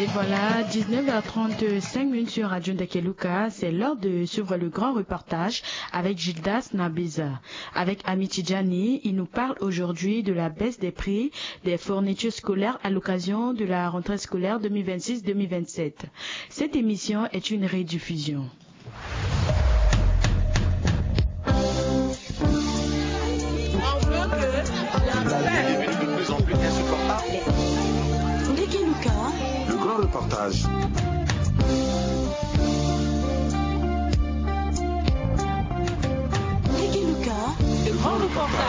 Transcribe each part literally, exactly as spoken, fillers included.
Et voilà, dix-neuf heures trente-cinq minutes sur Radio Ndekeluka, c'est l'heure de suivre le grand reportage avec Gildas Nabeza. Avec Ami Tidjani, il nous parle aujourd'hui de la baisse des prix des fournitures scolaires à l'occasion de la rentrée scolaire deux mille vingt-six deux mille vingt-sept. Cette émission est une rediffusion. Le grand reportage. Le grand reportage.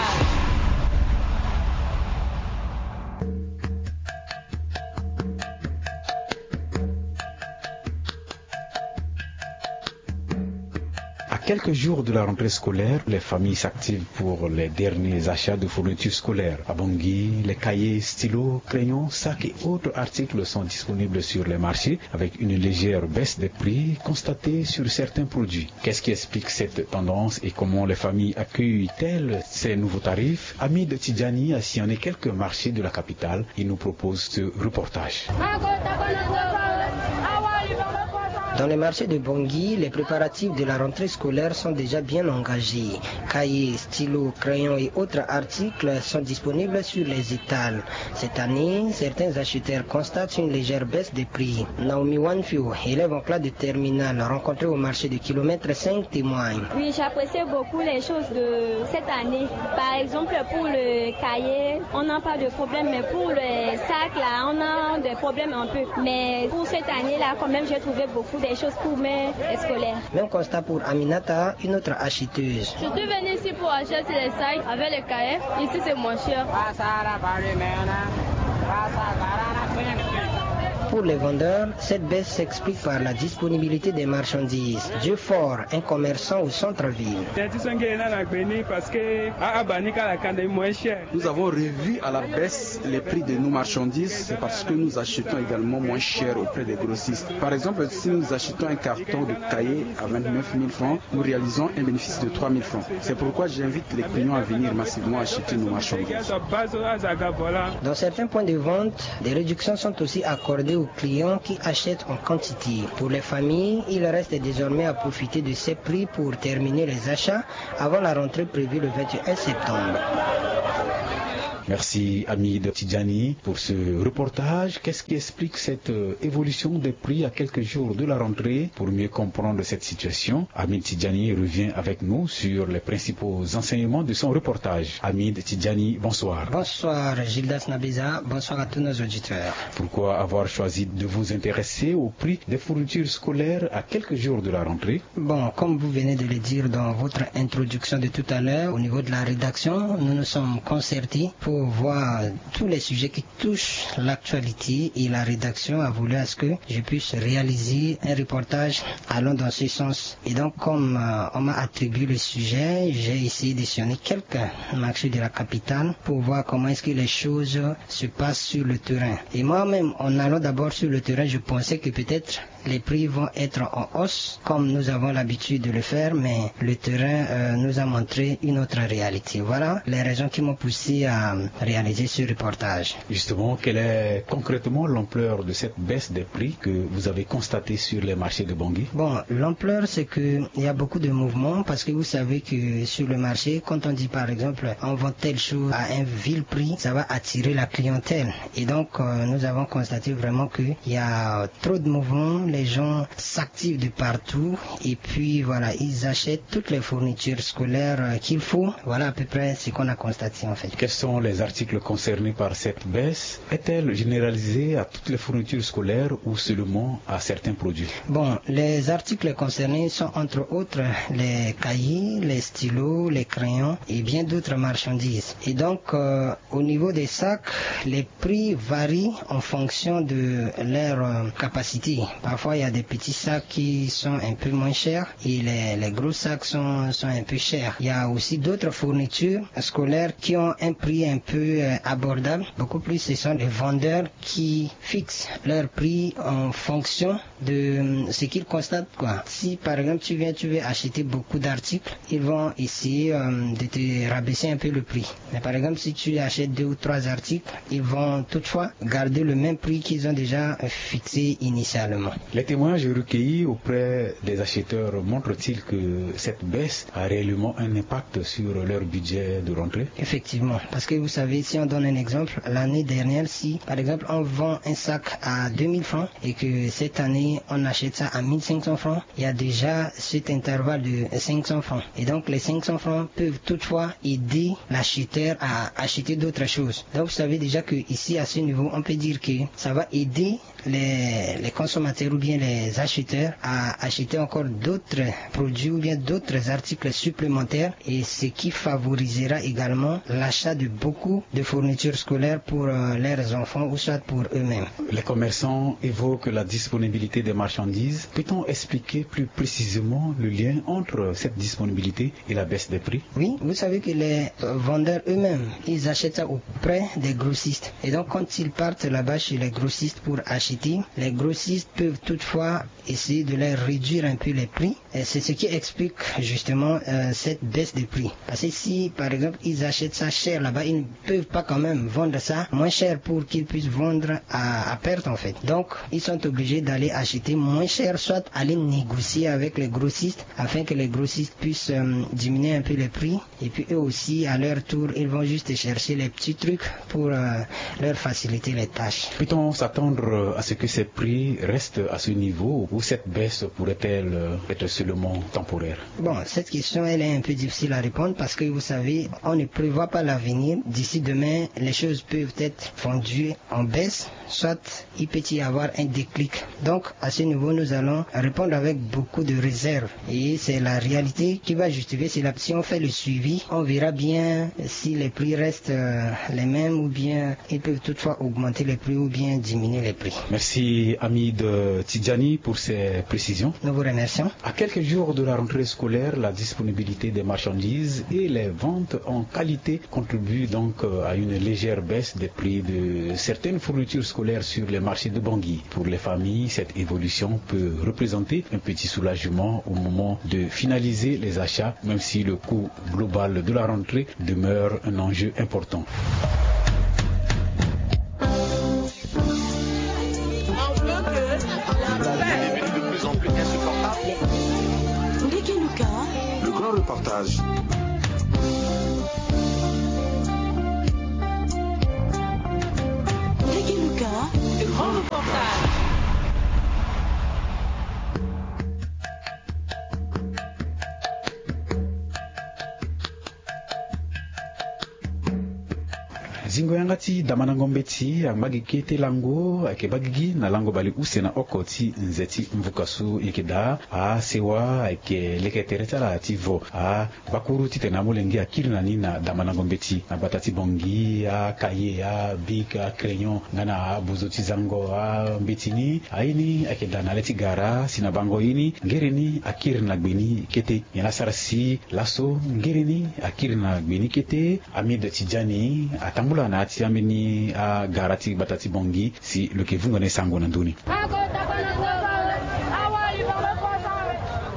À quelques jours de la rentrée scolaire, les familles s'activent pour les derniers achats de fournitures scolaires. À Bangui, les cahiers, stylos, crayons, sacs et autres articles sont disponibles sur les marchés avec une légère baisse des prix constatée sur certains produits. Qu'est-ce qui explique cette tendance et comment les familles accueillent-elles ces nouveaux tarifs ? Amid Tidjani a sillonné quelques marchés de la capitale. Il nous propose ce reportage. Dans les marchés de Bangui, les préparatifs de la rentrée scolaire sont déjà bien engagés. Cahiers, stylos, crayons et autres articles sont disponibles sur les étals. Cette année, certains acheteurs constatent une légère baisse des prix. Naomi Wanfio, élève en classe de terminale, rencontrée au marché de kilomètre cinq, témoigne. Oui, j'apprécie beaucoup les choses de cette année. Par exemple, pour le cahier, on n'a pas de problème, mais pour le sac, là, on a des problèmes un peu. Mais pour cette année-là, quand même, j'ai trouvé beaucoup de choses pour mes scolaires. Même constat pour Aminata, une autre acheteuse. Je suis venue ici pour acheter les sacs avec les cahiers. Ici, c'est moins cher. Pour les vendeurs, cette baisse s'explique par la disponibilité des marchandises. Dieu Fort, un commerçant au centre-ville. Nous avons revu à la baisse les prix de nos marchandises, c'est parce que nous achetons également moins cher auprès des grossistes. Par exemple, si nous achetons un carton de cahier à vingt-neuf mille francs, nous réalisons un bénéfice de trois mille francs. C'est pourquoi j'invite les clients à venir massivement acheter nos marchandises. Dans certains points de vente, des réductions sont aussi accordées aux clients qui achètent en quantité. Pour les familles, il reste désormais à profiter de ces prix pour terminer les achats avant la rentrée prévue le vingt et un septembre. Merci Amid Tidjani pour ce reportage. Qu'est-ce qui explique cette, euh, évolution des prix à quelques jours de la rentrée ? Pour mieux comprendre cette situation, Amid Tidjani revient avec nous sur les principaux enseignements de son reportage. Amid Tidjani, bonsoir. Bonsoir Gildas Nabeza, bonsoir à tous nos auditeurs. Pourquoi avoir choisi de vous intéresser au prix des fournitures scolaires à quelques jours de la rentrée ? Bon, comme vous venez de le dire dans votre introduction de tout à l'heure, au niveau de la rédaction, nous nous sommes concertés pour voir tous les sujets qui touchent l'actualité et la rédaction a voulu à ce que je puisse réaliser un reportage allant dans ce sens. Et donc, comme, euh, on m'a attribué le sujet, j'ai essayé de sillonner quelques marchés de la capitale pour voir comment est-ce que les choses se passent sur le terrain. Et moi-même, en allant d'abord sur le terrain, je pensais que peut-être les prix vont être en hausse, comme nous avons l'habitude de le faire, mais le terrain, euh, nous a montré une autre réalité. Voilà les raisons qui m'ont poussé à réaliser ce reportage. Justement, quelle est concrètement l'ampleur de cette baisse des prix que vous avez constatée sur les marchés de Bangui ? Bon, l'ampleur, c'est que il y a beaucoup de mouvements parce que vous savez que sur le marché, quand on dit par exemple, on vend telle chose à un vil prix, ça va attirer la clientèle. Et donc, euh, nous avons constaté vraiment qu'il y a trop de mouvements, les gens s'activent de partout et puis voilà, ils achètent toutes les fournitures scolaires, euh, qu'il faut. Voilà à peu près ce qu'on a constaté en fait. Quels sont les articles concernés par cette baisse ? Est-elle généralisée à toutes les fournitures scolaires ou seulement à certains produits ? Bon, les articles concernés sont entre autres les cahiers, les stylos, les crayons et bien d'autres marchandises. Et donc, euh, au niveau des sacs, les prix varient en fonction de leur, euh, capacité. Parfois, il y a des petits sacs qui sont un peu moins chers et les, les gros sacs sont, sont un peu chers. Il y a aussi d'autres fournitures scolaires qui ont un prix un peu euh, abordable. Beaucoup plus, ce sont les vendeurs qui fixent leur prix en fonction de euh, ce qu'ils constatent, quoi. Si par exemple tu viens, tu veux acheter beaucoup d'articles, ils vont essayer euh, de te rabaisser un peu le prix. Mais par exemple, si tu achètes deux ou trois articles, ils vont toutefois garder le même prix qu'ils ont déjà fixé initialement. Les témoignages recueillis auprès des acheteurs montrent-ils que cette baisse a réellement un impact sur leur budget de rentrée ? Effectivement, parce que vous savez, si on donne un exemple, l'année dernière, si par exemple on vend un sac à deux mille francs et que cette année on achète ça à mille cinq cents francs, il y a déjà cet intervalle de cinq cents francs. Et donc les cinq cents francs peuvent toutefois aider l'acheteur à acheter d'autres choses. Donc vous savez déjà que ici, à ce niveau, on peut dire que ça va aider les, les consommateurs ou bien les acheteurs à acheter encore d'autres produits ou bien d'autres articles supplémentaires, et ce qui favorisera également l'achat de beaucoup de fournitures scolaires pour euh, leurs enfants ou soit pour eux-mêmes. Les commerçants évoquent la disponibilité des marchandises. Peut-on expliquer plus précisément le lien entre cette disponibilité et la baisse des prix ? Oui, vous savez que les euh, vendeurs eux-mêmes, ils achètent ça auprès des grossistes. Et donc, quand ils partent là-bas chez les grossistes pour acheter, les grossistes peuvent toutefois essayer de leur réduire un peu les prix. Et c'est ce qui explique justement euh, cette baisse de prix. Parce que si, par exemple, ils achètent ça cher là-bas, ils ne peuvent pas quand même vendre ça moins cher pour qu'ils puissent vendre à, à perte, en fait. Donc, ils sont obligés d'aller acheter moins cher, soit aller négocier avec les grossistes afin que les grossistes puissent euh, diminuer un peu les prix. Et puis eux aussi, à leur tour, ils vont juste chercher les petits trucs pour euh, leur faciliter les tâches. Peut-on s'attendre à ce que ces prix restent à ce niveau ou cette baisse pourrait-elle euh, être seulement temporaire ? Bon, cette question, elle est un peu difficile à répondre parce que vous savez, on ne prévoit pas l'avenir. D'ici demain, les choses peuvent être vendues en baisse, soit il peut y avoir un déclic. Donc, à ce niveau, nous allons répondre avec beaucoup de réserve. Et c'est la réalité qui va justifier cela. Si on fait le suivi, on verra bien si les prix restent euh, les mêmes ou bien ils peuvent toutefois augmenter les prix ou bien diminuer les prix. Merci Hamid Tidjani pour ces précisions. Nous vous remercions. À quelques jours de la rentrée scolaire, la disponibilité des marchandises et les ventes en qualité contribue donc euh, à une légère baisse des prix de certaines fournitures scolaires sur les marchés de Bangui. Pour les familles, cette évolution peut représenter un petit soulagement au moment de finaliser les achats, même si le coût global de la rentrée demeure un enjeu important. Le grand reportage. Zingo yanga ti damandango mbeti angba gi kete lango ayeke baa gigi na lango baleuse na oko ti nze ti mvuka so e yeke daa. Asewa ayeke leke tere ti ala ti vo. Agbakuru titene amolenge akiri na ni na damandango mbeti na gbata ti Bangui, akaye, abik, acrayon nga na abozo ti zango. Ambeti ni aye ni ayeke daa na le ti gara si na bango ye ni ngere ni akiri na gbe ni kete. Nyen la sara si laso ngere ni akiri na gbe ni kete? Amide Tidjani atambula na ya ti ambeni agara ti gbata ti Bangui si lo yeke vungo na e sango na ndö ni.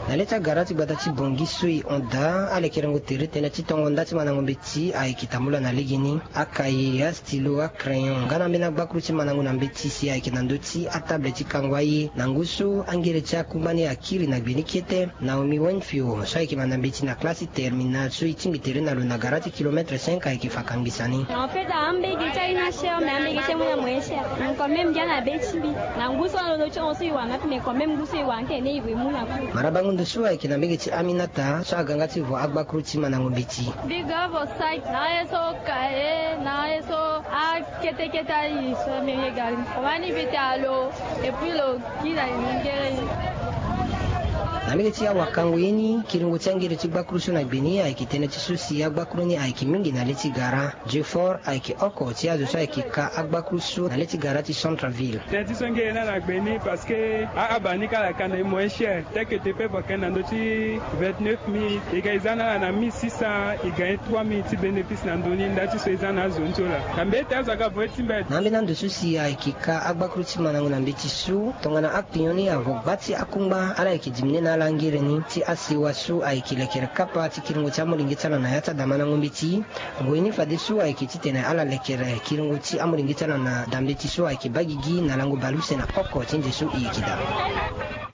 Na le ti agara ti gbata ti Bangui so e hon daa, alekerengo tere tënë ti tongo nda ti mandango mbeti ayeke tambula na legeni. Akaye, astylo, acrayon nga na ambeni agbakuru ti mandango na mbeti si ayeke na ndö ti atable ti kango aye. Na ngu so angere ti akumba ni akiri na gbe ni kete. Naomi Wenfio so ayeke mandango mbeti na classe ti terminale so e tingbi tere na lo na gara ti kilomètre cinq ayeke fa kangbi sani. En fait, ambege ti aye ni acher, mais ambege ti aye ni amoyen cher. Mais quand même, mbi ga na be ti mbi. Na ngu so na lo ti hon so e wara nga ape, mais quand même ngu so e wara nga tene e gue mu na ku. Mara bango ndo so ayeke na mbege ti Aminata so aga nga ti vo agbakuru ti mandango mbeti. Big up for site. Na ye so kaye, na ye so akete kete aye so mbi ye gari. Omani vite alo, et puis lo ki na ye ngere. Na mbege ti awakango ye ni, kiringo ti angere ti gbakuru so na gbe ni ayeke tënë ti so si agbakuru ni ayeke mingi na le ti gara. Jefort ayeke oko ti azo so ayeke ka agbakuru so na le ti gara ti centre ville. Tënë ti so ngere ni ala gbe ni parce que a- aba ni ka ala ka na e moins cher, tel que te pe vakin na ndö ti vingt-neuf mille, e ga e za na ala na mille six cents, e ga e trois mille ti bénéfice na ndö ni. Nda ti so e za na azo ni ti ola na mbeti azo aga vo e ti mbeti. Na ambeni ando so si ayeke ka agbakuru ti mandango na mbeti so, tongana akpinyon ni avo gba ti akungba ala yeke dimine na ala angere ni ti asewa so ayeke lekere kapa ti kiringo ti amolenge ti ala na ya ti adamandango mbeti. Ngoi ni fadeso ayeke titene ala lekere kiringo ti amolenge ti ala na dambeti so ayeke baa gigi na lango baleuse na oko ti nze so e yeke daa.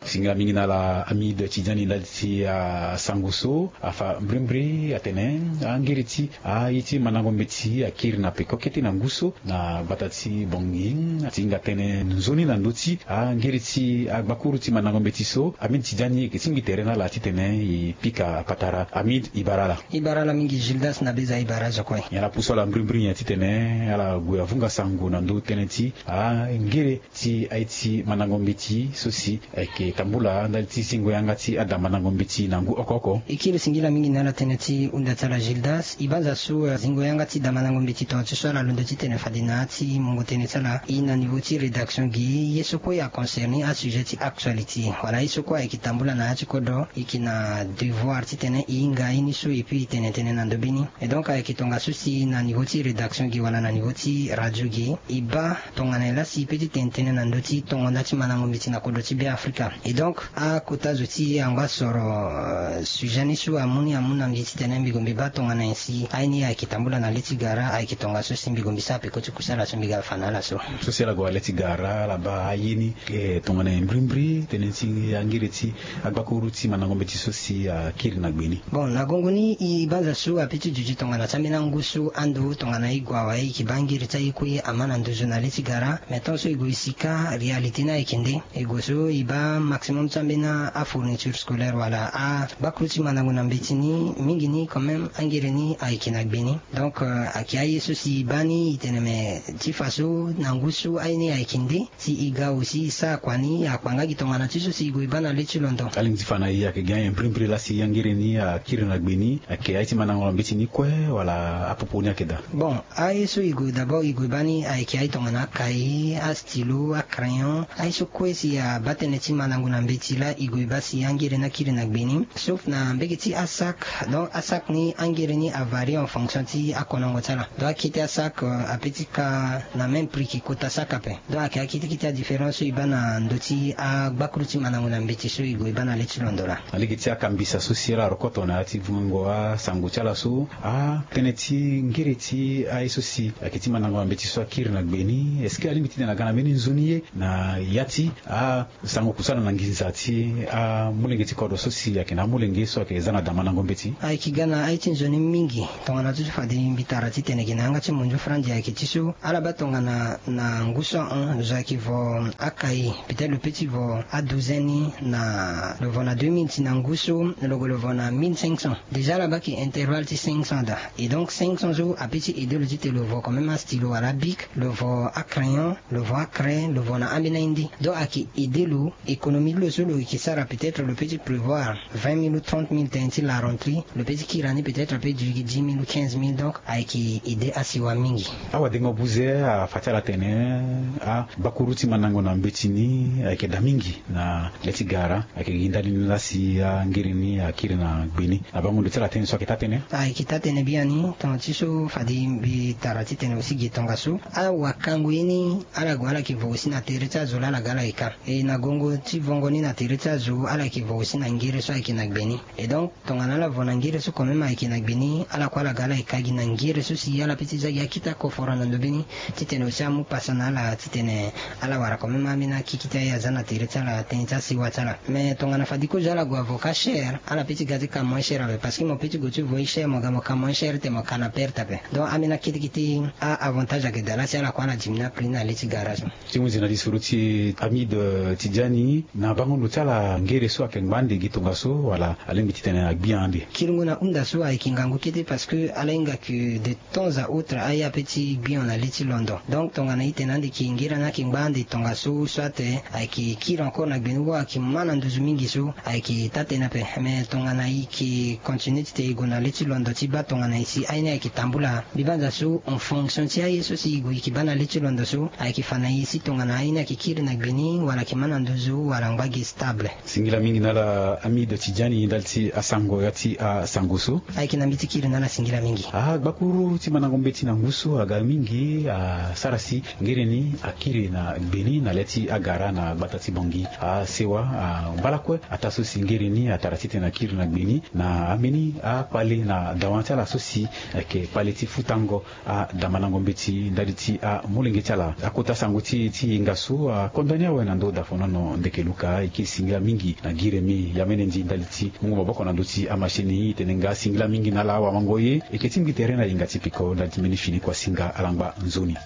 Singila mingi na ala Amide Tidiani ndali ti asango so afa mbrimbri atene angiri ti aye ti mandango mbeti akiri na peko kete na ngu so na gbata ti Bangui. Ti hinga tënë nzoni na ndö ti angiri ti agbakuru ti mandango mbeti so, Amide Tidiani ayeke tingbi tere na ala titene e pika patara. Amide, e bara ala. E bara ala mingi Gildas na beza e bara azo kue. Nyen ala pusu ala mbrimbri nyen titene ala gue avunga sango na ndö tënë ti angere ti aye ti mandango mbeti so si ayeke tambula ndali ti zingo yanga ti ada mandango mbeti na ngu oko oko? E kiri singila mingi na ala tënë ti hunda ti ala Gildas. E banza so, eh, zingo yanga ti da mandango mbeti tonga ti so ala londo titene fade na ya ti mungo tënë ti ala e na niveau ti rédaction gi ye so kue aconcerne asujet ti actualité wala ye so kue ayeke tambula na ya ti kodro, e yeke na devoir titene e hinga ye ni so et puis e tene tënë na ndö be ni. Et donc ayeke tongaso si na niveau ti rédaction gi wala na niveau ti radio gi e baa tongana e lasi e pe ti tene tënë na ndö ti tongo nda ti mandango mbeti na kodro ti Beafrika. Et donc akota zo ti e angba soro, euh, sujet ni so amu ni amu na mbi titene mbi gue mbi baa tongana nyen si aye ni ayeke tambula na le ti gara, ayeke tongaso si mbi gue mbi sara peko ti kusala so mbi ga fa na ala so. So si ala gue na le ti gara ala baa aye ni, eh, tongana nyen mbrimbri tënë ti angiri ti agbakuru ti mandango mbeti so si akiri na gbe ni. Bon, na gongo ni e banza so ape ti duti tongana ti ambeni angu so ando tongana e gue awe e yeke baa ngiri ti aye kue ama na nduzu na le ti gara. Mais tant so e gue e sika réalité ni ayeke nde, e gue so e baa maximum ti ambeni afourniture scolaire wala agbakuru ti mandango na mbeti ni mingi ni quand même angiri ni ayeke na gbe ni. Donc, euh, ayeke aye so si e baa ni e tene me ti fa so na ngu so aye ni ayeke nde. Si e ga aussi e sara kua ni akpa nga gi tongana ti so si e gue e baa na le ti londo. Alingbi ti fa na e ayeke gi anyen mbrimbri laa si angiri ni akiri na gbe ni ayeke aye ti mandango na mbeti ni kue wala apopo ni ayeke daa? Bon, aye so e gue d'abord e gue baa ni ayeke aye tongana akai, astylo, acrayon, aye so kue si abaa tënë ti mandango na mbeti laa e gue baa si angiri ni akiri na gbe ni. Sauf na mbege ti asac, donc asac ni angiri ni avarie en fonction ti akonongo ti ala. Donc akete asac, euh, ape ti ka na même prix ki kota sac ape. Donc ayeke akete kete adifférence so e baa na ndö ti agbakuru ti mandango na mbeti so e gue e baa na le ti londo laa. Na lege ti akambisa so si ala rokoto na ya ti vungango asango ti ala so, atënë ti ngiri ti aye so si ayeke ti mandango na mbeti so akiri na gbe ni, est-ce que alingbi titene aga na mbeni nzoni ye na ya ti a sango kusala na nginza ti amolenge ti kodro so si ayeke na amolenge so ayeke za na da mandango mbeti? Ayeke ga na aye ti nzoni mingi tongana ti so fade mbi tara titene gi na yanga ti mondio franzi ayeke ti so ala baa tongana na ngu so ahon zo ayeke vo akai peut-être lo pe ti vo adouzaine ni na lo vo na deux mille ti na ngu so lo gue lo vo na mille cinq cents. Déjà ala baa ki intervalle ti cinq cents daa. Et donc cinq cents so ape ti aide lo titene lo vo quand même astylo wala abic, lo vo acrayon, lo vo acraie, lo vo na ambeni aye nde. Donc ayeke aide lo économie ti lo so lo yeke sara peut-être lo pe ti prévoir vingt mille ou trente mille tënë ti la rentrée, lo pe ti kiri na ni peut-être ape dix mille ou quinze mille. Donc ayeke aide asiwa mingi. Awadengo buze afa ti ala tene agbakuru ti mandango na mbeti ni ayeke daa mingi na le ti gara. Ayeke gi ndali ni laa si angiri ni akiri na gbe ni? Na bango ndo ti ala tënë so ayeke taa tënë? Ayeke taa tënë biani tongana ti so fade mbi tara titene aussi gi tongaso awakango ye ni ala gue ala yeke vo aussi na tere ti azo laa ala ga ala yeke ka. E na gongo ti vongo ni na tere ti azo ala yeke vo aussi na ngere so ayeke na gbe ni. Et donc tongana ala vo na ngere so quand même ayeke na gbe ni ala kue ala ga ala yeke ka gi na ngere so si ala pe ti za gi akita koforo na ndo be ni. Titene aussi amu pasa na ala titene ala wara quand même ambeni akikiti aye aza na tere ti ala tënë ti asewa ti ala. Mais tongana fade kozo ala gue avo ka cher ala pe ti ga ti ka moins cher ape parce que mo pe ti gue ti vo ye cher mo ga mo ka moins cher te mo ka na perte ape. Donc ambeni akete kete a avantage ayeke daa laa si ala kue ala diminuer aprix ni na le ti gara so. Ti hunzi na lisoro ti Amide Tidiani. Na bango ndo ti ala ngere so ayeke ngba ande gi tongaso wala alingbi titene agbi ande? Kiringo na hunda so ayeke ngangu kete parce que ala hinga ke de temps à autre aya pe ti gbi hon na le ti londo. Donc tongana i tene ande ke ngere ni ayeke ngba ande tongaso so ate ayeke kiri encore na gbeni ou ayeke ma na nduzu mingi so ayeke taa tënë ape. Mais tongana i ke continue titene i gue na le ti londo ti baa tongana i si aye ni ayeke tambula mbi banza so en fonction ti aye so si i gue i ke baa na le ti londo so ayeke fa na i si tongana aye ni ayeke kiri na gbeni wala ayeke ma na nduzu wala angba gi stable. Singila mingi na ala Amide Tidiani ndali ti asango ya ti asango so. Ayeke na mbi ti kiri na ala singila mingi. Agbakuru ti mandango mbeti na ngu so aga mingi asara si ngere ni akiri na gbeni na le ti agara na gbata ti Bangui. Asewa, ambala kue ataa so si ngere ni atara titene akiri na gbeni na ambeni akpale na dawa ti ala so si ayeke kpale ti futango adamandango mbeti ndali ti amolenge ti ala. Akota sango ti e ti hinga so akondani awe na ndö dafonono ndeke luka. E ke singila mingi na giremi ya mene ndi ndali ti mungo maboko na ndö ti amachine. E tene nga singila mingi na ala awamango ye. E ke tingbi tere na hinga ti peko ndali ti mbeni fini kuasinga ala ngba nzoni.